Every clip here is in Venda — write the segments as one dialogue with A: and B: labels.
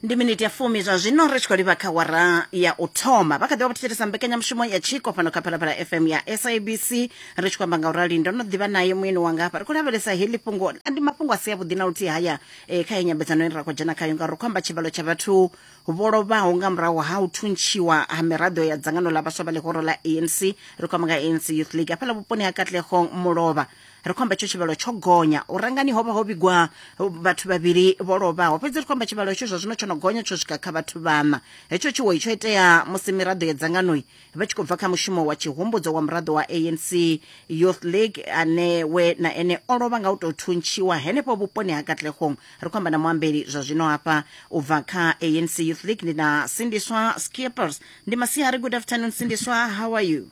A: Ndi miniti ya fumi zwa zwino ri tshi khou livha kha wara ya u thoma. Vha kha ḓi vha vho thetshelesa mbekanyamushumo ya tshiko fhano kha Phalaphala FM ya SABC. Ri tshi khou amba nga u rali ndo no ḓivha naye muyeni wanga hafha. Ri khou lavhelesa heḽi fhungo, ndi mafhungo a si avhuḓi na luthihi haya eh, kha heyi nyambedzano ine ra khou dzhena khayo ngauri ri khou amba tshivhalo tsha vhathu vho lovhaho nga murahu ha u thuntshiwa ha miraḓo ya dzangano ḽa vhaswa vha ḽihoro ḽa ANC. Ri khou amba nga ANC Youth League hafhaḽa vhuponi ha Katlehong Mulovha. Ri khou amba itsho tshivhalo tsho gonya. U rangani ho vha ho vhigwa vhathu vhavhili vho lovhaho, fhedzi ri khou amba tshivhalo hetsho zwa zwino tsho no gonya tsho swika kha vhathu vhaṋa. Hetsho tshiwo tsho itea musi miraḓo ya dzangano vha tshi khou bva kha mushumo wa tshihumbudzo wa muraḓo wa ANC Youth League ane we na ene o lovha nga u tou thuntshiwa henefho vhuponi ha Katlehong. Ri khou amba na muambeli zwa zwino hafha u bva kha ANC Youth League ndi na Sindiswa Skippers. Ndi masiari, good afternoon Sindiswa, how are you?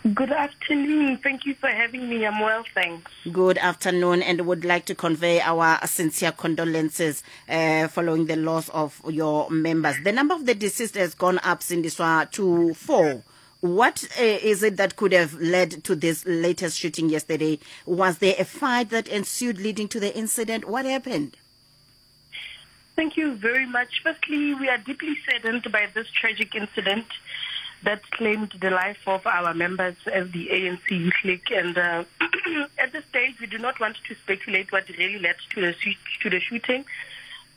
B: Good afternoon. Thank you for having me. I'm well, thanks.
A: Good afternoon, and would like to convey our sincere condolences following the loss of your members. The number of the deceased has gone up, Sindiswa, to 4. What is it that could have led to this latest shooting yesterday? Was there a fight that ensued leading to the incident? What happened?
B: Thank you very much. Firstly, we are deeply saddened by this tragic incident that claimed the life of our members as the ANC Youth League. And at this stage, we do not want to speculate what really led to the shooting.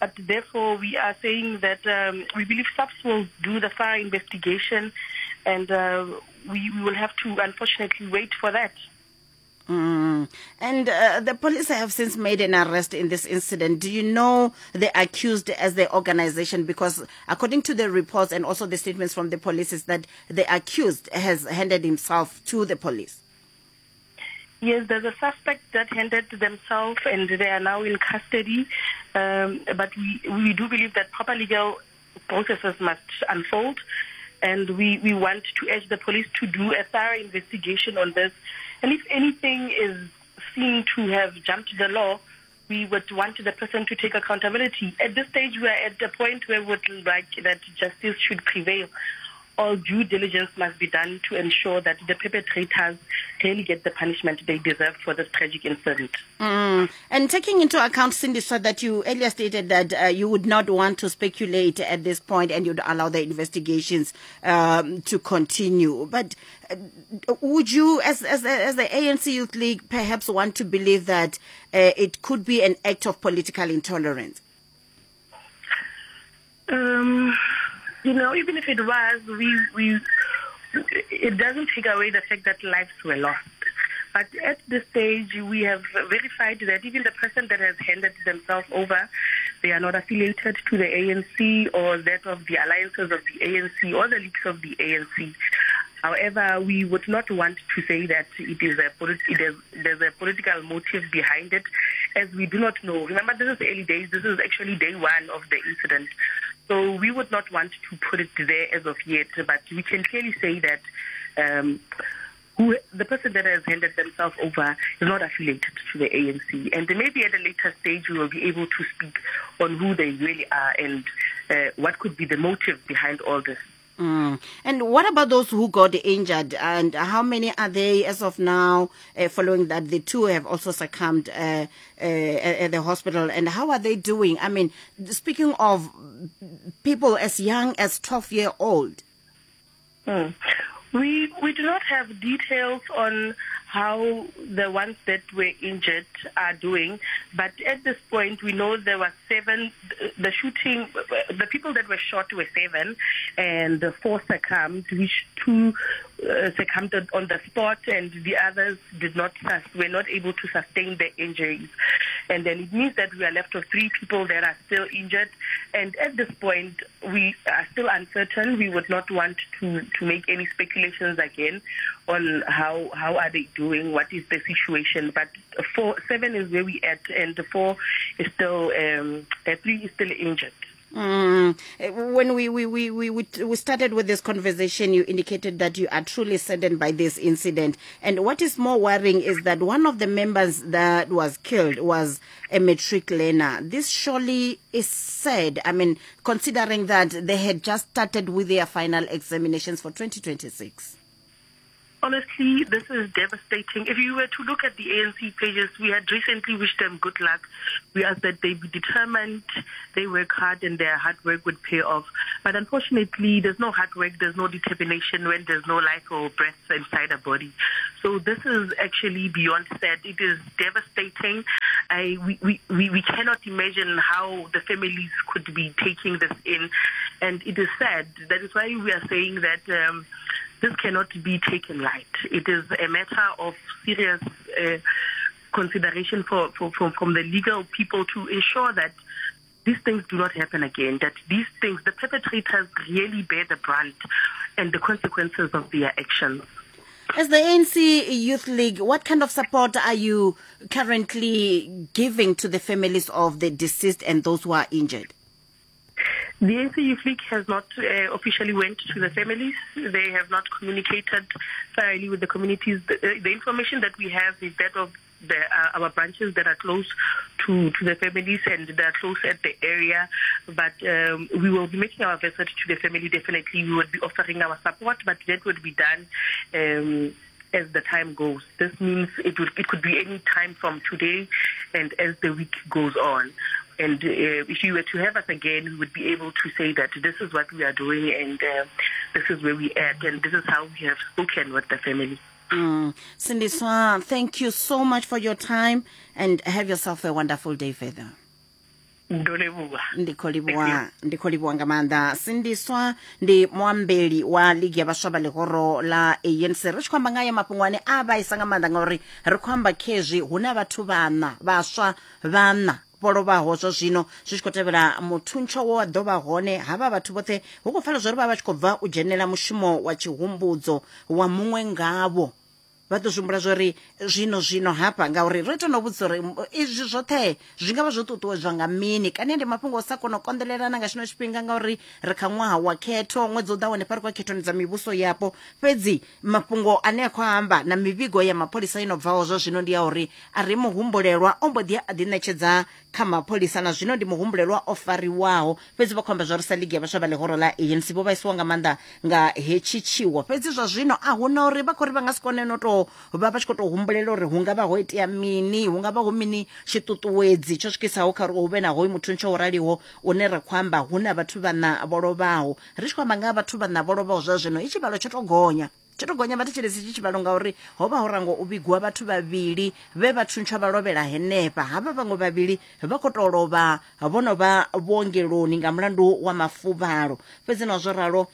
B: But therefore, we are saying that we believe SAPS will do the thorough investigation, and we will have to, unfortunately, wait for that.
A: And the police have since made an arrest in this incident. Do you know the accused as the organization? Because according to the reports and also the statements from the police is that the accused has handed himself to the police.
B: Yes, there's a suspect that handed themselves and they are now in custody. But we do believe that proper legal processes must unfold. And we want to urge the police to do a thorough investigation on this. And if anything is seen to have jumped the law, we would want the person to take accountability. At this stage, we are at the point where we would like that justice should prevail. All due diligence must be done to ensure that the perpetrators really get the punishment they deserve for this tragic incident.
A: And taking into account, Sindiswa, that you earlier stated that you would not want to speculate at this point and you'd allow the investigations to continue. But would you, as the ANC Youth League, perhaps want to believe that it could be an act of political intolerance?
B: Even if it was, it doesn't take away the fact that lives were lost. But at this stage, we have verified that even the person that has handed themselves over, they are not affiliated to the ANC or that of the alliances of the ANC or the leagues of the ANC. However, we would not want to say that there's a political motive behind it, as we do not know. Remember, this is early days. This is actually day one of the incident. So we would not want to put it there as of yet, but we can clearly say that the person that has handed themselves over is not affiliated to the ANC. And maybe at a later stage we will be able to speak on who they really are and what could be the motive behind all this.
A: And what about those who got injured, and how many are they as of now, following that the two have also succumbed at the hospital, and how are they doing? I mean, speaking of people as young as 12-year-old.
B: We do not have details on how the ones that were injured are doing, but at this point we know there were 7. The shooting, the people that were shot were 7, and 4 succumbed, which 2 succumbed on the spot, and the others did not, were not able to sustain their injuries. And then it means that we are left with 3 people that are still injured. And at this point, we are still uncertain. We would not want to make any speculations again on how are they doing, what is the situation. But 7 is where we at, and 4 is still, 3 is still injured.
A: When we started with this conversation, you indicated that you are truly saddened by this incident. And what is more worrying is that one of the members that was killed was a matric learner. This surely is sad. I mean, considering that they had just started with their final examinations for 2026.
B: Honestly, this is devastating. If you were to look at the ANC pages, we had recently wished them good luck. We asked that they be determined, they work hard, and their hard work would pay off. But unfortunately, there's no hard work, there's no determination when there's no life or breath inside a body. So this is actually beyond sad. It is devastating. We cannot imagine how the families could be taking this in. And it is sad. That is why we are saying that this cannot be taken light. It is a matter of serious consideration from the legal people to ensure that these things do not happen again, that these things, the perpetrators really bear the brunt and the consequences of their actions.
A: As the ANC Youth League, what kind of support are you currently giving to the families of the deceased and those who are injured?
B: The ANC Youth League has not officially went to the families. They have not communicated thoroughly with the communities. The information that we have is that of our branches that are close to the families and they are close at the area. But we will be making our visit to the family definitely. We would be offering our support, but that would be done as the time goes. This means it could be any time from today and as the week goes on. And if you were to have us again, we would be able to say that this is what we are doing and this is where we are at and this is how we have spoken with the family.
A: Sindiswa, thank you so much for your time and have yourself a wonderful day further. Ndi khou livhuwa nga maanḓa. Sindiswa ndi muambeli wa ligi ya vhaswa vha ḽihoro ḽa ANC. Ri tshi khou amba nga ya mafhungo ane a vhaisa nga maanḓa ngauri ri khou amba khezwi hu na vhathu vhaṋa vhaswa vhaṋa vho lovhaho zwa zwino zwi tshi khou tevhela muthuntsho wo wa ḓo vha hone. Havha vhathu vhoṱhe hu khou pfala zwa uri vha vha tshi khou bva u dzhenela mushumo wa tshihumbudzo wa muṅwe ngavho. Vha ḓo zwi humbula zwa uri zwino hafha ngauri ro ita no vhudzisa uri izwi zwoṱhe zwi nga vha zwo ṱuṱuwedzwa nga mini, kani ndi mafhungo o sa kona u konḓelelana nga tshino tshifhinga ngauri ri kha ṅwaha wa khetho, ṅwedzi u ḓaho hanefha ri khou khethoni dza mivhuso yapo. Fhedzi mafhungo ane a khou amba na mivhigo ya mapholisa ino bvaho zwa zwino ndi ya uri a ri muhumbulelwa o mbo ḓi a ḓiṋetshedza kha mapholisa na zwino ndi muhumbulelwa o fariwaho. Fhedzi vha khou amba zwa uri sa ligi ya vhaswa vha ḽihoro ḽa ANC vho vhaisiwa nga maanḓa nga hetshi tshiwo. Fhedzi zwa zwino a huna uri vha khou ri vha nga si kone no tou vha vha tshi khou tou humbulela uri hu nga vha ho itea mini, hu nga vha hu mini tshiṱuṱuwedzi tsho swikisaho kha uri hu vhe na hoyu muthuntsho wo raliho une ra khou amba hu na vhathu vhaṋa vho lovhaho. Ri tshi khou amba nga vhathu vhaṋa vho lovhaho zwa zwino i tshivhalo tsho tou gonya. Tsho tou gonya vhathetshelesi tshi tshivhalo ngauri ho vha ho rango u vhigwa vhathu vhavhili vhe vha thuntsha vha lovhela henefha. Havha vhaṅwe vhavhili vha khou tou lovha vho no vha vhuongeloni nga mulandu wa mafuvhalo. Fhedzi naho zwo ralo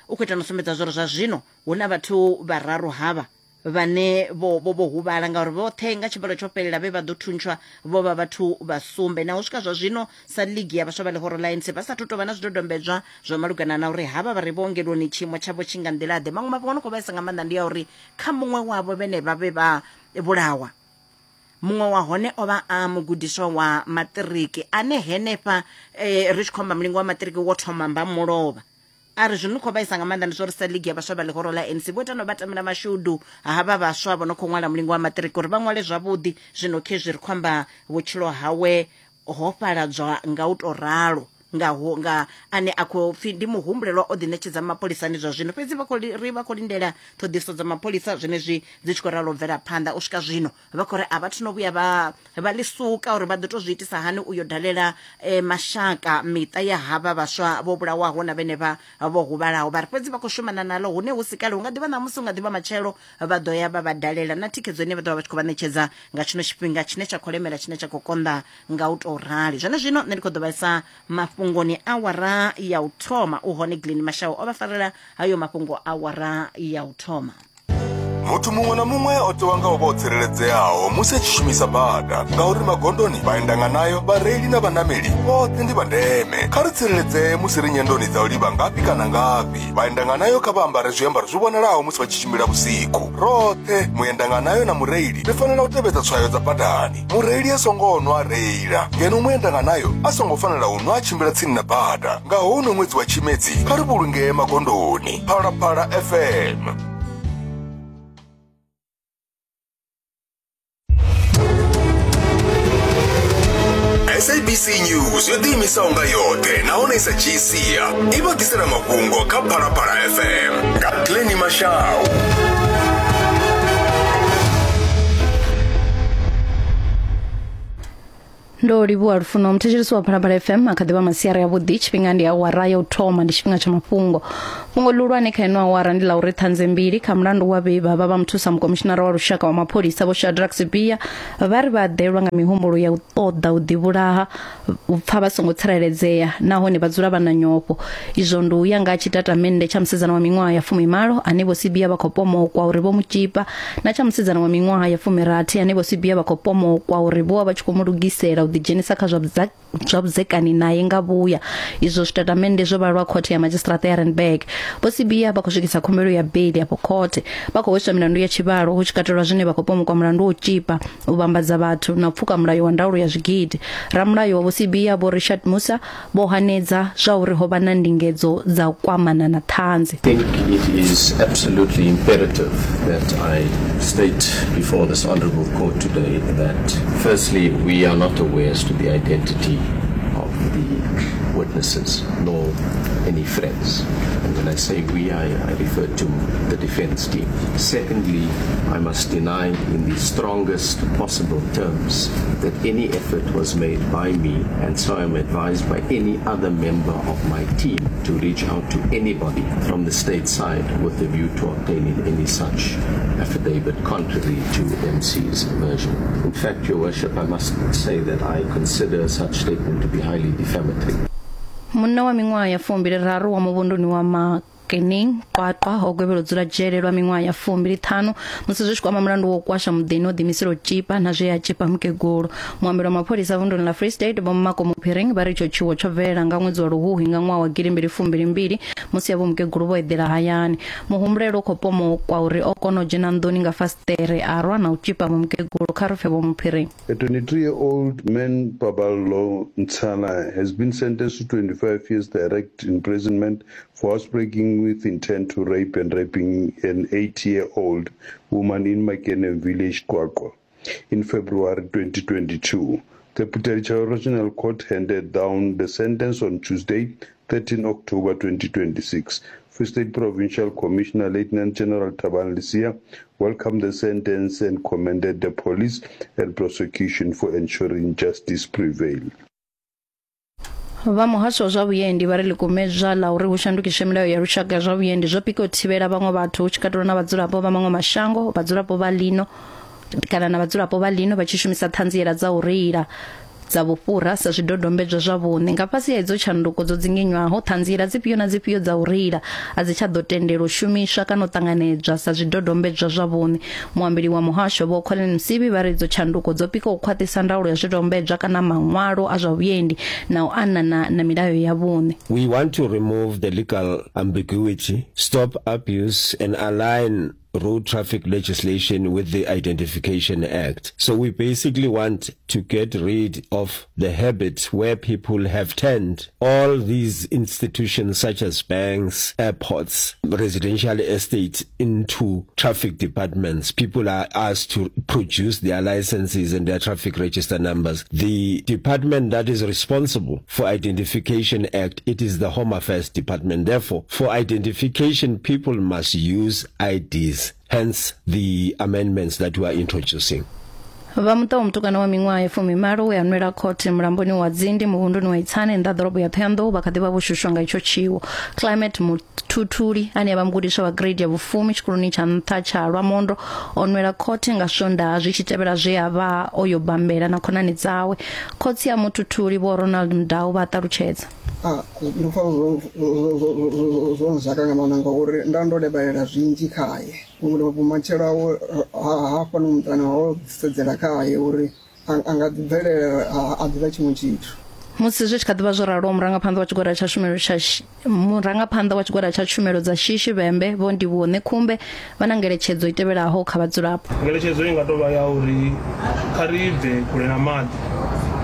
A: u khou ita no sumbedza zwo uri zwa zwino hu na vhathu vhararu havha vhane vho huvhala ngauri vhoṱhe nga tshivhalo tsho fhelela vhe vha ḓo thuntshwa vho vha vhathu vha sumbe. Naho swika zwa zwino sa ligi ya vhaswa vha ḽihoro ḽa ANC vha sathu tou vha na zwidodombedzwa zwa malugana na uri havha vha re vhuongeloni tshiimo tshavho tshi nga nḓila ḓe. Maṅwe mafhungo no khou vhaisa nga maanḓa ndi ya uri kha muṅwe wavho vhene vha vhe vha vhulawa, muṅwe wa hone o vha a mugudiswa wa maṱiriki ane henefha ri tshi khou amba mulingo wa maṱiriki wo thoma mba mulovha. A ri zwino khou vhaisa nga maanḓa ndi zwa uri sa ligi ya vhaswa vha ḽihoro ḽa ANC vho ita no vha tamela mashudu havha vhaswa vho no khou ṅwala mulingo wa maṱiriki uri vha ṅwale zwavhuḓi. Zwino khezwi ri khou amba vhutshilo hawe ho fhaladzwa nga u tou ralo nga ane a khou pfi ndi muhumbulelwa o ḓiṋetshedza mapholisani zwa zwino. Fhedzi vha khou ri vha khou lindela ṱhoḓisiso dza mapholisa zwenezwi dzi tshi khou ralo bvela phanḓa u swika zwino. Vha khou ri a vha thu no vhuya vha ḽi suka uri vha ḓo tou zwi itisa hani u yo dalela mashaka miṱa ya havha vhaswa vho vhulawaho na vhene vha vho huvhalaho. Vha ri fhedzi vha khou shumana nalo hune hu si kale, hu nga ḓivha ṋamusi, hu nga ḓivha matshelo, vha ḓo ya vha vha dalela na thikhedzo ine vha ḓo vha vha tshi khou vha ṋetshedza nga tshino tshifhinga tshine tsha khou lemela, tshine tsha khou konḓa nga u tou rali. Zwone zwino nṋe ndi khou ḓo vhaisa mafhungoni awara ya u thoma. U hone Glen Mashau o vha farela hayo mafhungo awara ya u thoma.
C: Muthu muṅwe na muṅwe o tewa nga u vha o tsireledzeaho musi a tshi shumisa bada, ngauri magondoni, vhaendanganayo, vhareili na vhanameli vhoṱhe ndi vha ndeme. Kha ri tsireledzee musi ri nyendoni dza u livha ngafhi kana ngafhi. Vhaendanganayo kha vha ambare zwiambaro zwi vhonalaho musi vha tshi tshimbila vhusiku. Roṱhe, muendanganayo na mureili, ri fanela u tevhedza tswayo dza badani. Mureili a songo nwa a reila, ngeno muendanganayo a songo fanela u nwa a tshimbila tsini na bada. Nga houno ṅwedzi wa Tshimedzi, kha ri vhulungee magondoni. Phalaphala FM. SABC News yo ḓiimisaho nga yoṱhe nahone i sa dzhii sia i vha ḓisela mafhungo kha Phalaphala FM nga Glenny Mashau.
D: Ndo livhuwa Lufuno. Muthetshelesi wa Phalaphala FM a kha ḓi vha masiari avhuḓi. Tshifhinga ndi awara ya u thoma, ndi tshifhinga tsha mafhungo. Fhungo ḽihulwane kha ino awara ndi ḽa uri ṱhanzi mbili kha mulandu wa vhe vha vha vha muthusa mukomishinara wa lushaka wa mapholisa Vho Shadrack Sibiya vha ri vha ḓelwa nga mihumbulo ya u ṱoḓa u ḓivhulaha, u pfa vha songo tsireledzea nahone vha dzula vha na nyofho. Izwo ndi u ya nga tshitatamennde tsha musidzana wa miṅwaha ya fumimalo ane Vho Sibiya vha khou pomokwa uri vho mu tzhipa na tsha musidzana wa miṅwaha ya fumirathi ane Vho Sibiya vha khou pomokwa uri vho vha vha tshi khou mu lugisela u ḓidzhenisa kha zwa zwa vhudzekani nae nga vhuya. Izwo zwitatamennde zwo vhalwa khothe ya madzhisiṱiraṱa ya Randburg. Vho Sibiya vha khou swikisa khumbelo ya beili afho khothe. Vha khou hweswa milandu ya tshivhalo hu tshi katelwa zwine vha khou pomokwa mulandu wa u tzhipa, u vhambadza vhathu na u pfuka mulayo wa ndaulo ya zwigidi. Ramulayo wa Vho Sibiya Vho Richard Musa vho hanedza zwa uri ho vha na ndingedzo dza u kwamana na ṱhanzi.
E: I think it is absolutely imperative that I state before this honorable court today that firstly we are not aware as to the identity of the witnesses nor any friends. And when I say we, I, I refer to the defense team. Secondly, I must deny in the strongest possible terms that any effort was made by me, and so I am advised by any other member of my team to reach out to anybody from the state side with a view to obtaining any such affidavit contrary to MC's version. In fact, Your Worship, I must say that I consider such statement to be highly defamatory.
D: Munna wa miṅwaha ya fumbili raru wa muvhunduni wa Makening Qwaqwa o gwevhelwa u dzula dzhele lwa miṅwaha ya fumbili ṱhanu musi zwi tshi kwama mulandu wa u kwasha muḓini o ḓiimisela u tzhipa na zwe a tzhipa mukegulu. Muambeli wa mapholisa vunduni ḽa Free State Vho Mmako Muphiring vha ri itsho tshiwo tsho bvelela nga ṅwedzi wa Luhuhi nga ṅwaha wa gidimbili fumbili mbili musi avho mukegulu vho eḓela hayani. Muhumbulelwa u khou pomokwa uri o kona u dzhena nḓuni nga fasiṱere a rwa na u tzhipa vho mukegulu. Kha ri pfe Vho Muphiring.
F: A 23-year-old man, Paballo Ntsala, has been sentenced to 25 years direct imprisonment for housebreaking with intent to rape and raping an 80-year-old woman in Makene village, QwaQwa, in February 2022. The Phuthaditjhaba Regional Court handed down the sentence on Tuesday, 13 October 2026. Free State Provincial Commissioner Lieutenant General Thabang Lisia welcomed the sentence and commended the police and prosecution for ensuring justice prevailed.
D: Vha muhasho wa zwa vhuendi vha ri ḽikumedzwa ḽa uri hu shandukiswe milayo ya lushaka ya zwa vhuendi zwo pika u thivhela vhaṅwe vhathu hu tshi katelwa na vhadzulapo vha maṅwe mashango, vhadzulapo vha ḽino kana na vhadzulapo vha ḽino vha tshi shumisa ṱhanziela dza u reila dza vhufhura sa zwidodombedzwa zwa vhuṋe. Nga fhasi ha idzo tshanduko dzo dzinginywaho, ṱhanziela dzifhio na dzifhio dza u reila a dzi tsha ḓo tendelwa u shumiswa kana u ṱanganedzwa sa zwidodombedzwa zwa vhuṋe. Muambeli wa muhasho Vho Collen Msibi vha ri idzo tshanduko dzo pika u khwaṱhisa ndaulo ya zwidodombedzwa kana maṅwalo a zwa vhuendi na u anana na milayo ya vhuṋe.
G: We want to remove the legal ambiguity, stop abuse and align road traffic legislation with the Identification Act. So we basically want to get rid of the habit where people have turned all these institutions such as banks, airports, residential estates into traffic departments. People are asked to produce their licenses and their traffic register numbers. The department that is responsible for Identification Act, it is the Home Affairs Department. Therefore, for identification, people must use IDs. Hence the amendments that we are introducing.
D: Vha muṱa wa mutukana wa miṅwaha ya fumimalo we a nwela khothe mulamboni wa Dzindi muvhunduni wa Itsani nnḓa ḓorobo ya Ṱhohoyanḓou vha kha ḓi vha vho shushwa nga itsho tshiwo. Climate Muthuthuli ane a vha mugudiswa wa grade ya vhufumi tshikoloni tsha nṱha tsha Lwamondo o nwela khothe nga Swondaha zwi tshi tevhela zwe a vha o yo bambela na khonani dzawe. Khotsi a Muthuthuli Vho Ronald Mudau vha a ṱalutshedza.
H: Ah, ndo pfa zwo nzhaka nga maanḓa ngauri nda ndo lavhelela zwinzhi khaye vhumatshelo hawe hafhano muṱani ho sedzela khaye uri a nga ḓi bvelela a ḓivha tshiṅwe tshithu.
D: Musi zwi tshi kha ḓi vha zwo ralo, murangaphanḓa wa tshigwada tsha tshumelo tsha murangaphanḓa wa tshigwada tsha tshumelo dza shishi Vhembe Vho Ndivhuwo Ṋekhumbe vha na ngeletshedzo i tevhelaho kha vhadzulapo.
I: Ngeletshedzo i nga tou vha ya uri kha ri bve kule na maḓi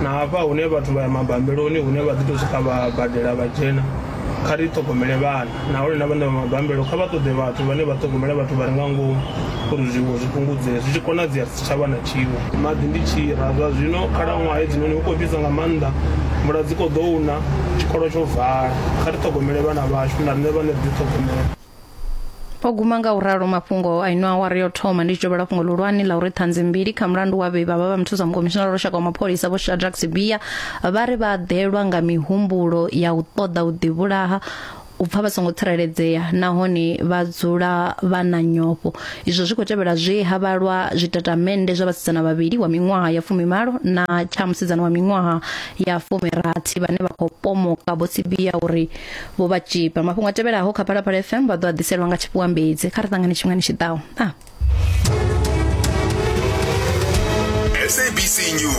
I: na hafha hune vhathu vha ya mabambeloni hune vha ḓi tou swika vha badela vha dzhena kha ri ṱhogomele vhana nahone na vhaṋe vha mabambelo kha vha ṱoḓe vhathu vhane vha ṱhogomela vhathu vha re nga ngomu uri zwiwo zwi fhungudzee zwi tshi konadzea ri si tsha vha na tshiwo. Maḓi ndi tshira zwa zwino khalaṅwaha hedzinoni hu khou fhisa nga maanḓa mvula dzi khou ḓou na tshikolo tsho vala kha ri ṱhogomele vhana vhashu na riṋe vhaṋe ri ḓi ṱhogomele.
D: O guma nga u ralo mafhungo a ino awara yo thoma ndi tshi tovhela fhungo ḽihulwane ḽa uri ṱhanzi mbili kha mulandu wa vhe vha vha vha muthusa mukomishinara wa lushaka wa mapholisa Vho Shadrack Sibiya vha ri vha ḓelwa nga mihumbulo ya u ṱoḓa u ḓivhulaha u pfa vha songo tsireledzea nahone vha dzula vha na nyofho. Izwo zwi khou tevhela zwe ha vhalwa zwitatamennde zwa vhasidzana vhavhili wa miṅwaha ya fumimalo na tsha musidzana wa miṅwaha ya fumirathi vhane vha khou pomoka Vho Sibiya uri vho vha tshipa. Mafhungo a tevhelaho kha Phalaphala FM vha ḓo a ḓiselwa nga tshifhiwa mbedzi. Kha ri ṱangane tshifhingani tshi ḓaho. Ah.
C: SABC News.